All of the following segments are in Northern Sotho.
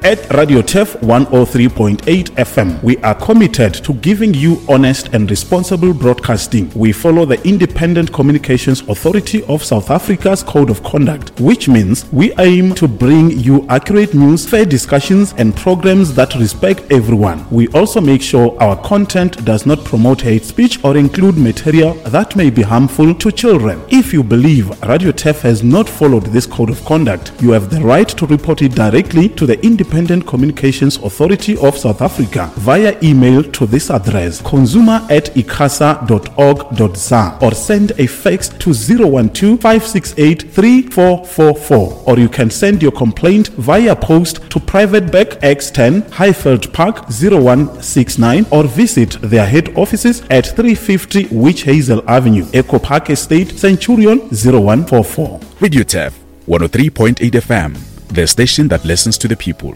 At Radio Turf 103.8 FM, we are committed to giving you honest and responsible broadcasting. We follow the Independent Communications Authority of South Africa's Code of Conduct, which means we aim to bring you accurate news, fair discussions, and programs that respect everyone. We also make sure our content does not promote hate speech or include material that may be harmful to children. If you believe Radio Turf has not followed this code of conduct, you have the right to report it directly to the Independent Communications Authority of South Africa via email to this address consumer at icasa.org.za or send a fax to 012 568 3444 or you can send your complaint via post to Private Bank X10 Highveld Park 0169 or visit their head offices at 350 Witch Hazel Avenue, Echo Park Estate, Centurion 0144. Radio Turf 103.8 FM, the station that listens to the people.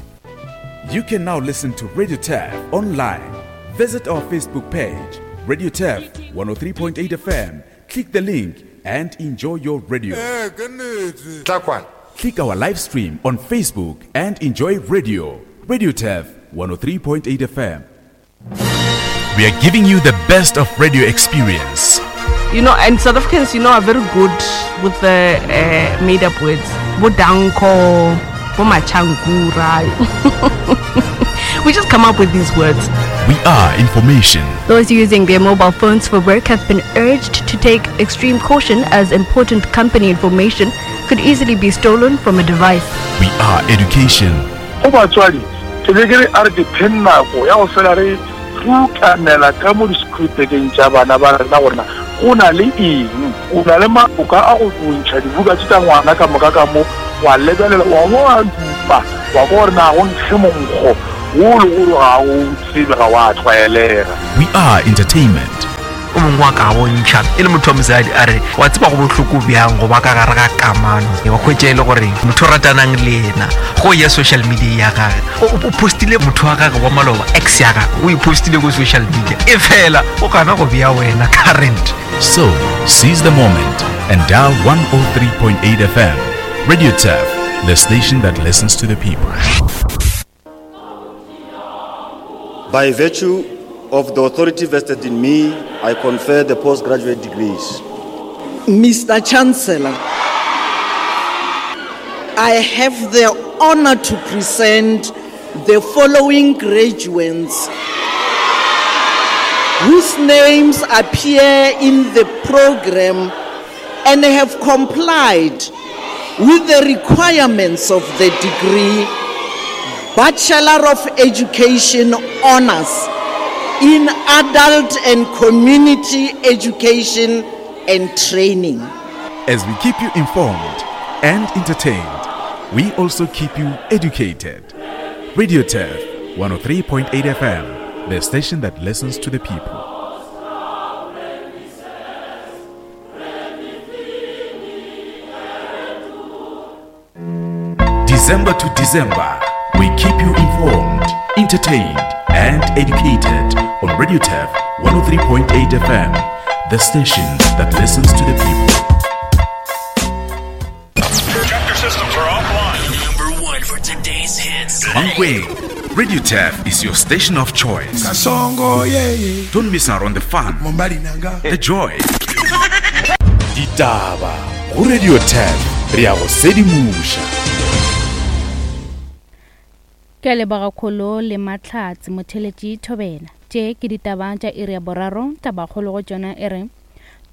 You can now listen to Radio Turf online. Visit our Facebook page, Radio Turf 103.8 FM. Click the link and enjoy your radio. Click our live stream on Facebook and enjoy radio. Radio Turf 103.8 FM. We are giving you the best of radio experience. You know, and South Africans, you know, are very good with the uh, made up words. Bodanko, Bomachankura. we just come up with these words. We are information. Those using their mobile phones for work have been urged to take extreme caution as important company information could easily be stolen from a device. We are education. Go batswadi, ke be ke re a re ke pheng nako ya go fela re rutanela ka mo di-schoolbageng tša bana ba rena gore na go na le eng. O na le maoka a go ntšha dibuka tše tša ngwana ka moka ka mo, wa lebelela, wa bo wa dupa, wa kwa gore na go nkge monkgo wo le gore ga o tsebe, ga wa tlwaelega. We are entertainment. O mongwe wa ka bontšha e le motho wa mosadi a re wa tseba go bohloko bjang go ba ka gare ga kamano wa hwetša e le gore motho o ratanang le yena go ya social media ya gage o postile motho wa gage wa maloba ex ya gage o e postile ko social media e fela o gana go bea wena current. So, seize the moment and dial 103.8 FM. Radio Turf, the station that listens to the people. By virtue of the authority vested in me, I confer the postgraduate degrees. Mr. Chancellor, I have the honor to present the following graduates whose names appear in the program and have complied with the requirements of the degree Bachelor of Education Honors in Adult and Community Education and Training. As we keep you informed and entertained, we also keep you educated. Radio Turf 103.8 FM, the station that listens to the people. December to December, we keep you informed, entertained, and educated on Radio Turf 103.8 FM, the station that listens to the people. Chapter systems are offline. Number one for today's hits. Mankweng, Radio Turf is your station of choice. Kasongo, yeah, yeah. Don't miss out on the fun, Mombali nanga. the joy. Ditaba go Radio 10 re ya go sedimoša. Ke a leboga Kholo le Mahlatse Motheletši Thobela. Tše ke ditaba tša iri ya boraro, tabakgolo go tšona e re,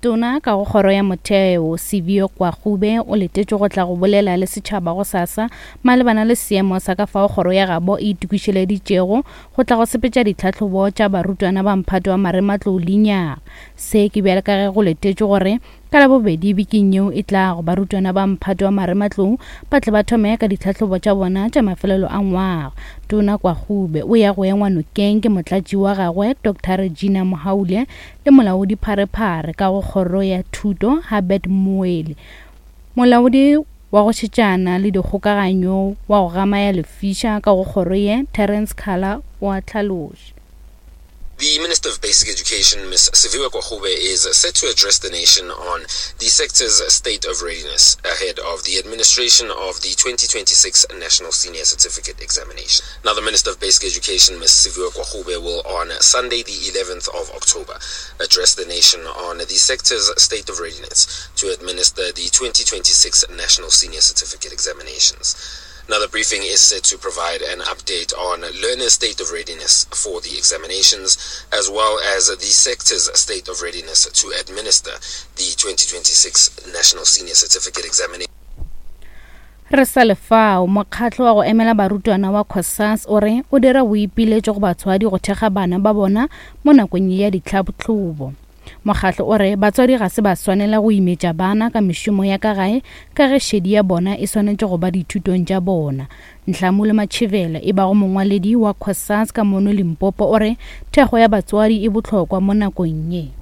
Tona ka go Kgoro ya Motheo, Sibio Kwagube o letetšwe go tla go bolela le setšhaba gosasa malebana le seemo sa ka fao kgoro ya gabo e itokišeleditšego go tla go sepetša ditlhahlobo tša barutwana ba mphato wa marematlou lenyaga. Se ke bjale ka ge go letetšwe gore Ka Labobedi bekeng yeo e tlago, barutwana ba mphato wa marematlou ba tle ba thome ka ditlhahlobo tša bona tša mafelelo a ngwaga. Tona Kwagube o ya go engwa nokeng ke motlatši wa gagwe Doctor Regina Mohaule le molaodi pharephare ka go kgoro ya thuto Herbert Moeli. Molaodi wa go šetšana le dikgokaganyo wa go gama ya lefiša ka go kgoro ye Terence Khala o a hlaloša. The Minister of Basic Education, Ms. Siviwe Gwarube, is set to address the nation on the sector's state of readiness ahead of the administration of the 2026 National Senior Certificate Examination. Now, the Minister of Basic Education, Ms. Siviwe Gwarube, will on Sunday, the 11th of October, address the nation on the sector's state of readiness to administer the 2026 National Senior Certificate Examinations. Now, the briefing is set to provide an update on learners' state of readiness for the examinations, as well as the sector's state of readiness to administer the 2026 National Senior Certificate Examination. Re sa le fao, mokgatlo wa go emela barutwana wa COSAS o re o dira boipiletšo go batswadi go thekga bana ba bona mo nakong ye ya ditlhahlobo. Mokgatlo o re batswadi ga se ba swanela go imetša bana ka mešomo ya ka gae ka ge šedi ya bona e swanetše go ba dithutong tša bona. Nhlamulo Matšhivela e bago mongwaledi wa COSAS ka mono Limpopo o re thekgo ya batswadi e bohlokwa mo nakong ye.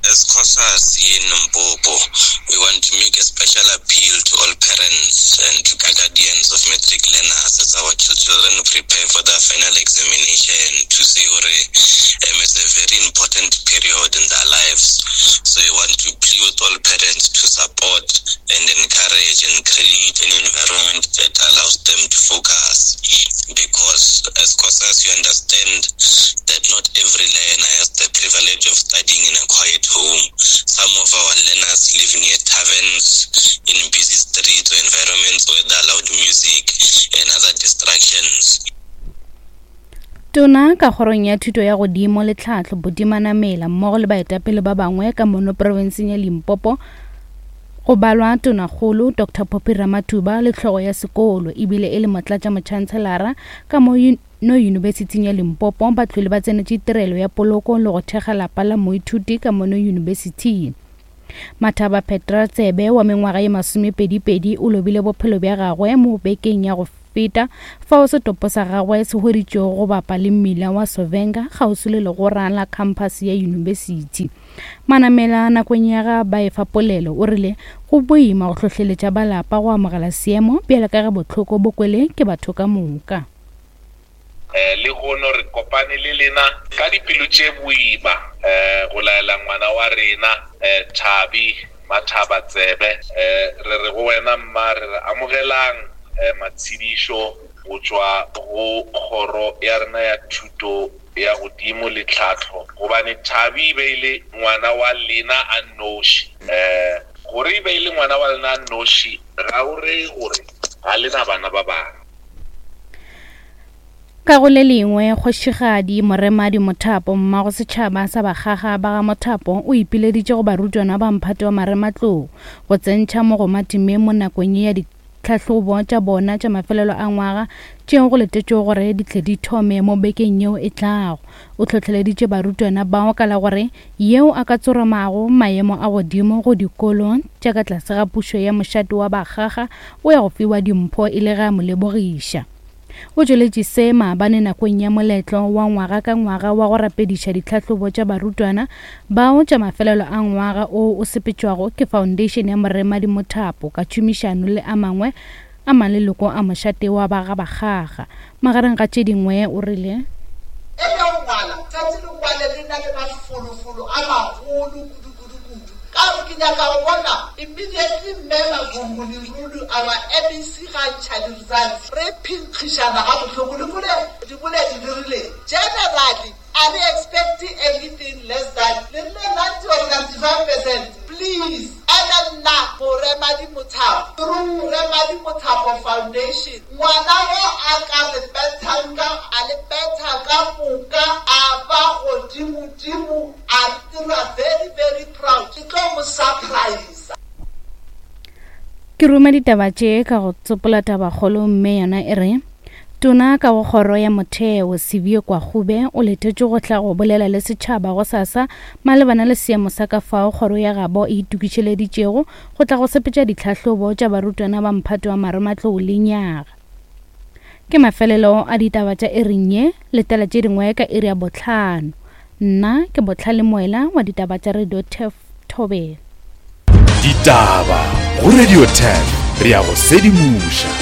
As COSAS in Limpopo, we want to make a special appeal to all parents and to guardians of matric learners as our children prepare for their final examination to say gore um, it's a very important period in their lives. So we want to plead with all parents to support and encourage and create an environment that allows them to focus. Because as COSAS, you understand that not every learner has the privilege of studying in a quiet home. Some of our learners live near taverns, in busy streets or environments where there are loud music and other distractions. Tona ka kgorong ya thuto ya godimo le tlhahlo Buti Manamela mmogo le baetapele ba bangwe ka mono profenseng ya Limpopo go balwa Tonakgolo Dr Phophi Ramathuba le hlogo ya sekolo ebile e le motlatšamotšhantselara ka mo no Yunibesithing ya Limpopo ba tlwele ba tsenetše tirelo ya poloko le go thekga lapa la moithuti ka mono yunibesithing. Mathaba Petra Tsebe wa mengwaga ye masomepedipedi o lobile bophelo bja gagwe mo bekeng ya go feta fao setopo sa gagwe se hweditšwego go bapa le mmila wa Sovenga kgauswi le legora la khamphase ya yunibesithi. Manamela nakong ya ga ba efa polelo o rile go boima go hlohleletša ba lapa go amogela seemo bjalo ka ge bohloko bo kwele ke batho ka moka. Lehono re kopane le lena ka dipelo tše boima go laela ngwana wa rena Thabi Mathaba Tsebe. Re re go wena mma, re re amogelang matshedišo go tšwa go kgoro ya rena ya thuto ya godimo le tlhahlo, gobane Thabi e be e le ngwana wa lena a nnoši. Gore e be e le ngwana wa lena a nnoši ga o reye gore ga le na bana ba bangwe. Ka go le lengwe, Kgošigadi Moremadi Mothapo, mmago setšhaba sa Bakgaga ba ga Mothapo, o ipileditše go barutwana ba mphato wa marematlou go tsentšha mogoma temeng mo nakong ye ya ditlhahlobo tša bona tša mafelelo a ngwaga tšeo go letetšwego gore di tle di thome mo bekeng yeo e tlago. O hlohleleditše barutwana bao ka la gore yeo a ka tsoramago maemo a godimo go dikolo tša ka tlase ga pušo ya mošate wa Bakgaga o ya go fiwa dimpho e le ge a mo lebogiša. O tšweletše se maabane nakong ya moletlo wa ngwaga ka ngwaga wa go rapediša ditlhahlobo tša barutwana bao tša mafelelo a ngwaga o o sepetšwago ke Foundation ya Moremadi Mothapo ka tšhomišano le a mangwe a maleloko a mošate wa ba ga Bakgaga. Magareng ga tše dingwe o rile. E ya go ngwala, tšatši le ngwale le na le mafolofolo a magolo kudu-kudu-kudu. Ka gore ke nyaka go bona immediately Mme Magungu Lerulu our MEC ga ntšha di-results re phinkgišana ga bohloko le kule diboledi di rile generally a re expect anything less than le rile 90 or 95 percent please ene nna Moremadi Mothapo through Remadi Mothapo Foundation ngwana wo a ka re bethang ka a le betha ka moka a ba godimodimo a re dira very very proud ke tlo mo surprise. Ke ruma ditaba tše ka go tsopola tabakgolo mme yona e re Tona ka go kgoro ya motheo Siviwe Gwarube o letetšwe go tla go bolela le setšhaba gosasa malebana le seemo sa ka fao kgoro ya gabo e itokišeleditšego go tla go sepetša ditlhahlobo tša barutwana ba mphato wa marematlou lenyaga. Ke mafelelo a ditaba tša iring ye, letela tše dingwe ka iri ya bohlano. Nna ke Bohlale Moela wa ditaba tša Radio Turf Thobela. Ditaba go Radio Turf, re a go sedimoša.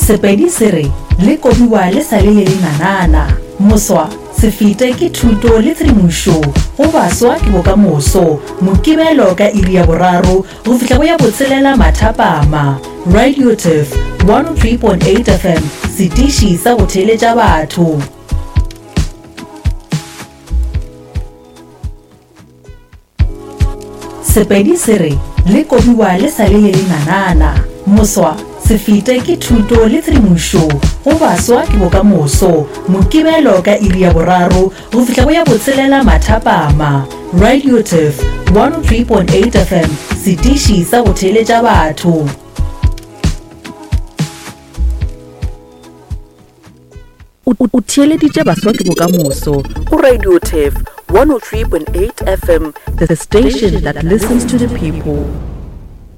Sepedi se re, Le kobiwa le sa le le lenanana. Moswa, se fete ke thuto le tshedimošo go baswa ke bokamoso. Mokibelo ka iri ya boraro go fihla go ya botshelela mathapama. Radio Turf 103.8 FM, setiši sa go theeletša batho. Sepedi se re, Le kobiwa le sa le le lenanana. Moswa, se fete ke thuto le tshedimošo go baswa ke bokamoso. Mokibelo ka iri ya boraro go fihla go ya botshelela mathapama. Radio Turf 103.8 FM, setiši sa go theeletša batho. O theeleditše Baswa ke Bokamoso go Radio Turf 103.8 FM, the station that listens to the people.